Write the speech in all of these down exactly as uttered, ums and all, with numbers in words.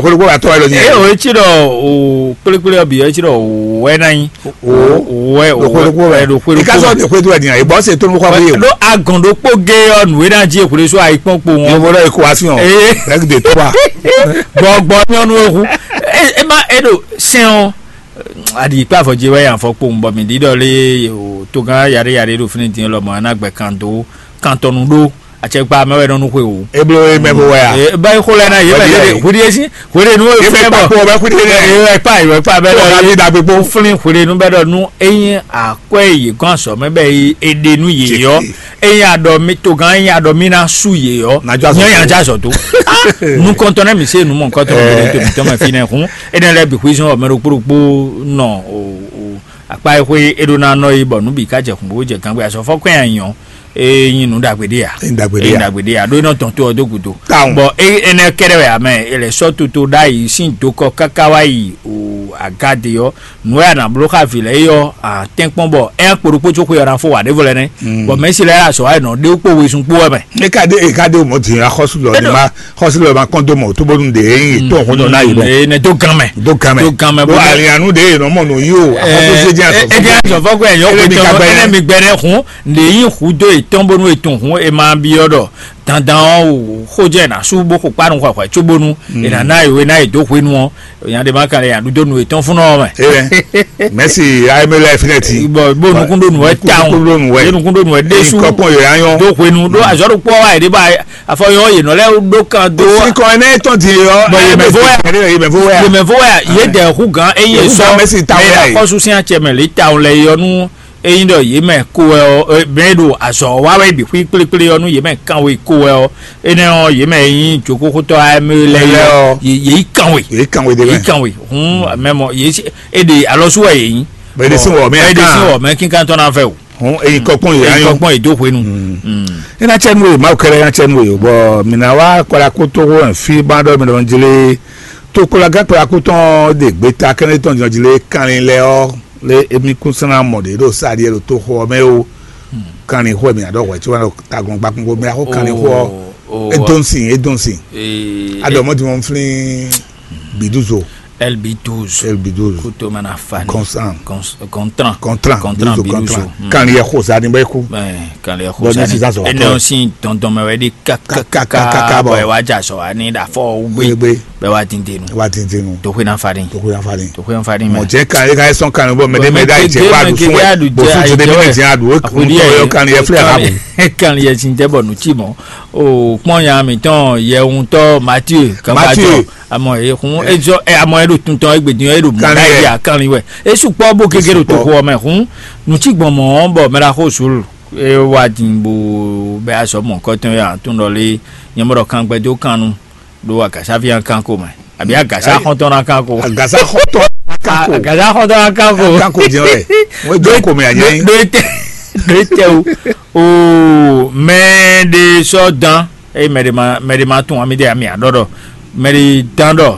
Xwéɖokpó wɛ atɔ́ wɛ lɔ nyi. Eye o etsi ɖɔ o kplékplé ɔbí etsi ɖɔ o wɛ na nyi. O wɛ o wɛ ɖo xwéɖokpó wɛ. Ɖo xwéɖokpó. Ika sɔ ɖe xwéɖokpó wɛ nyi. Ebɔ se tó nu xɔ fún yé. Ɖo agɔn ɖokpó gé ɔ nǔ e na jí ekwlé so ayi kpɔn kpo wọn. Yɔmɔ ɖɔ ekwasi ɔ. Eye. Rɛgide tó wa. Gbɔgbɔ nyɔnu ehu. E ma e ɖo sɛn ɔ. Aɖi kpé afɔ dzi wɛ yan fɔ kpowun bɔ mi ɖi ɖɔ lé o togán yaɖé yaɖé ɖo fínɛ́ dín lɔ mɔ ana gbɛ kan dó kantɔnu ɖó. Atsɛkpa mɛ wɛ nɔ nu xwe o. Eblo ye mɛ bo wɛ a? Ba yi xo lɛ na ye mɛ lɛ hudi esi hudi nu ye mɛ kpa kpɔ bɛ hudi ne. Ye mɛ kpa ye mɛ kpa bɛ dɔ ye da gbogbo. Fúnni hudi nu bɛ dɔ nu eyin akwɛ ye gɔn sɔ mɛ bɛ ye ede nu ye yɔ eyin adɔ mi togán eyin adɔ mi na su ye yɔ nyɛ yan ja zɔ to. Nu kɔntɔn nɛ mi se nu mɔ nkɔtɔn mi to mi tɔn mɛ fi nɛ hun ene lɛ bi huizɔn mɛ ɖokpo ɖokpo nɔ o o akpa e xwe e ɖo na nɔ yi bɔ nu bi ka jɛ kun bo jɛ gangbe asɔfɔ kɔn ya nyɔ. Eye nyi nǔ ɖagbe ɖé ya. Eye ɖagbe ɖé ya. Eye ɖagbe ɖé ya ɖó iná tɔn tó ɔ dó gúdo. Táwọn. Bɔ eye énɛ́ kɛ́ɖɛ́ wɛ amɛ e lɛ sɔ́ toto ɖ'ayǐ sín dokɔ káká wá yi o agade ɔ́ nǔ wɛ a nǎ bló xá vǐ lɛ́ɛ é ɔ́ a tɛ́nkpɔ́n bɔ é kpo ɖokpó có xwe ɔ́ ná fó wǎ ɖěvo lɛ́ɛ nɛ́. Bɔ mɛ̌si lɛ́ɛ azɔ̌ wá yi nɔ ɖé kpó wezun kpó wɛ mɛ. E ka ɖe e ka ɖe o mɔ din axɔ́sú lɔ ni ma xɔ́sú lɔ ma kɔn dó mɔ tó bónú ɖe e nyi tó xó nɔ ná yi mɛ. Eye nɛ dó gan mɛ. Dó gan mɛ. Dó gan mɛ. Bó alianu ɖe e nɔ mɔ nɔ yi o axɔ́sú sé jẹ́ asɔ. Ege azɔfɔ kɔ ɛyɔ kò tɔn ɛnɛ mi gbɛ ɖe hun. Nde yin hu dó etɔn bónú etɔn hun e ma byɔ́ ɖɔ dandan ɔ́ o xó jɛ na sú bó xo kpánu xɔxɔɛ cóbónú e nǎ ná e wé ná e dó hwenu ɔ́ nya ɖe ma kan lɛ nya ɖu dó nu etɔn fún ɔ́ mɛ. Mɛsi ayémélé finɛ ti. Bɔn bó nukún ɖó nu ɛ tawun. Nukún ɖó nu ɛ. Yé nukún ɖó nu ɛ ɖésú. Kɔkpɔn yòó anyɔ. Dó hwenu ɖó azɔ́ ɖo kpɔ́ wa yě ɖé ba afɔ yɔ yě nɔ lɛ ɖó kan dó. Sinkɔ ɛnɛ tɔn di yɔ. Bɔn yé mɛ fó wɛ. Yé mɛ fó wɛ. Yé mɛ fó wɛ yé dɛ hu gan eye sɔ. Mɛsi tawun yɛ. Akɔsu sin atsɛ mɛ lě tawun lɛ yɔ nú. Eyin ɖɔ yě mɛ ko wɛ ɔ́, bɛn ɖo azɔ̌ wa wɛ bǐ xwí kplékplé ɔ́, nú yě mɛ kan we ko wɛ ɔ́, énɛ́ ɔ́, yě mɛ nyí jǒkóxótɔ́ amɛ lɛ́ɛ ɔ́, yě yí kan we. Yě kan we ɖé mɛ. Yě kan we. Hun mɛ mɔ yě é ɖe alɔsú wɛ yě nyí. Bɛ ɖe sín wɔ mɛ. Bɛ ɖe sín wɔ mɛ kíkan tɔn náà fɛ o. Hun eyi kɔkpɔn yě anyɔ. Kɔkpɔn yě dó hwenu. Ina tsɛ nu ye mawu kɛlɛ ina tsɛ nu ye bɔ mina wa kɔla kó tó hó fi ba ɖɔ mi ɖɔ jlé tó kɔla gán kɔla kó tɔn de gbeta kɛnɛ tɔn jɔ jlé kanlin lɛ ɔ. Le emi kún sɔn ná mɔ ɖě ɖo sáɖiɛ ɖo toxo ɔ́ mɛ ó. Kanlin xó emi aɖɔ hwɛ tí wọn tagbọn gbakun ko mɛ axó kanlin xó ɔ. Edonsin edonsin. Aɖɔ mɔ dimɔ nflin biduzo. L B douze. L B douze. Kuto mana fani. Constant. Contran. Contran. Contran biduzo. Kanlin yɛ xó sa ni bɛ kú. Kanlin yɛ xó sa ni. Bɔn ne sisan sɔ. Ɛnɛ si dɔndɔn mɛ wɛ di kakakaka bɔ ɛ wa dza sɔ ani ɖa fɔ wugbe. Bɛ wa dindenu. Wa dindenu. Toxwe na fani. Toxwe na fani. Toxwe na fani mɛ. Mɔ jɛ kan e ka sɔn kan bɔ mɛ de mɛ da jɛ wa du fún ɛ bɔ fún jɛ de mɛ jɛ a du o kun tɔ yɔ kan yɛ filɛ ha bu. Kan yɛ sin tɛ bɔ nu ti mɔ o kpɔn ya mi tɔn yɛ ŋutɔ Mathieu kanba jɔ amɔ e kun e jɔ e amɔ e do tun tɔn egbe din e do mɔ da yi a kan wɛ e su kpɔ bo gege do to xɔ mɛ kun nu ti gbɔn mɔ bɔ mɛ la xo sulu e wa din bo bɛ a sɔ mɔ kɔtɔn ya tun dɔ le nyɛmɔ dɔ kan gbɛ do kan nu. Ɖo agasa fia kan ko mɛ abi agasa xɔntɔn na kan ko. Agasa xɔntɔn kan ko. Agasa xɔntɔn na kan ko. Kan ko jɛ wɛ. Wọ́n jọ ko mɛ a jẹ. Ɖo ete ɖo ete o o mɛ ɖe sɔ dan eye mɛ ɖe ma mɛ ɖe ma tún ami ɖe ami aɖɔ ɖɔ mɛ ɖe dan ɖɔ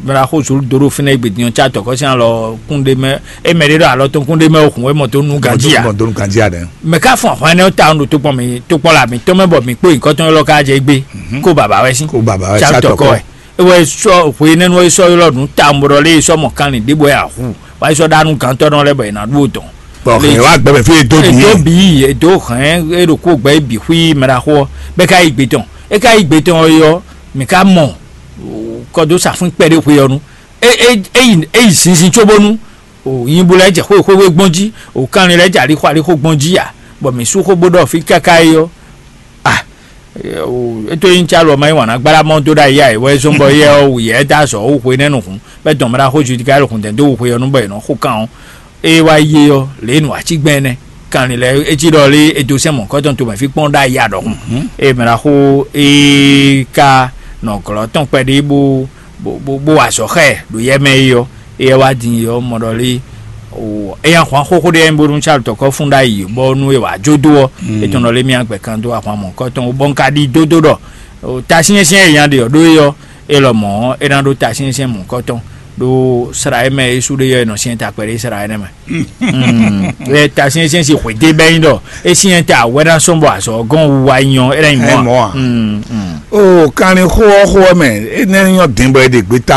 mɛ ɖe axo zolu do ɖo fínɛ egbe dinyɔ tsa tɔkɔ sin alɔ kún ɖe mɛ eye mɛ ɖe ɖɔ alɔ tɔn kún ɖe mɛ o kun e mɔ tó nu ganji a. Mɔ tó nu ganji a ɖe. Mɛ ká fún ahwan ɛnɛ ta ɖo tó kpɔn mi tó kpɔn la mi tɔn mɛ bɔ mi kpó nyikɔtɔn lɔ ká jɛ egbe kó baba wɛ sí. Kó baba wɛ sí atɔkɔ. Ewɔ esɔ hwe nɛnu esɔ ylɔ nu ta mɔ ɖɔ lé esɔ mɔ kanlin ɖe bɔ ya hu wa esɔ ɖa nu gantɔ nɔ lɛ bɔ ena ɖu o dɔn. Bɔn hɛn wa gbɛmɛ fi edo bi. Edo bi edo hɛn eɖo ko gbɛ ebi hui mɛ ɖa xɔ bɛ ka yi gbe tɔn e ka yi gbe tɔn yɔ mi ka mɔ kɔdo safun kpɛ ɖe hwe yɔ nu e e eyi eyi zinzin tso bonu o yin bo lɛ jɛ xwe xwe gbɔn ji o kanlin lɛ jɛ ali xɔ ali xɔ gbɔn ji ya bɔ mi su xɔ bo ɖɔ fi kaka yi yɔ. Ah, eto yin tsa lɔ ma yi wana gbala mɔ do ɖa ya wɛ zɔn bɔ yɛ ɔ wu yɛ da zɔ wo hwe nɛ nu hun bɛ dɔn mra xo ju ka lo hun dɛ do wo hwe ɔ nu bɔ yɛ nɔ xo kan ɔ e wa ye ɔ le nu atsi gbɛn nɛ kan lɛ etsi ɖɔ le edo sɛ mɔ kɔtɔn to mɛ fi kpɔn ɖa ya ɖɔ hun e mra xo e ka nɔ glɔ tɔn kpɛ ɖe bo bo bo azɔ xɛ ɖo yɛ mɛ yi ɔ eyɛ wá din yɔ mɔ ɖɔ lé o eya hwan xóxó ɖé yɛ bónú tsa tɔkɔ fún ɖ'ayǐ bɔ nú e wà jó dó ɔ etɔn ɖɔ lé mía gbɛ kan dó ahwan mɔ̌kɔtɔn bɔ un ka ɖi dódó ɖɔ o tasyɛnsyɛn e nya ɖe ɔ ɖó e ɔ e lɔ mɔ̌ e ná ɖó tasyɛnsyɛn mɔ̌kɔtɔn ɖó sra e mɛ e sú ɖé yɔ e nɔ syɛn takpɛ ɖé sra énɛ́ mɛ. Lɛ tasyɛnsyɛn si xwedé bɛ nyi ɖɔ e syɛn ta wɛ ná sɔn bɔ azɔ gɔn wu wa nyɔ e ná nyi mɔ̌ a. O kanlin xó ɔ́ xó ɔ́ mɛ é nɛ́ nyɔ́ dín bɔ é ɖe gbeta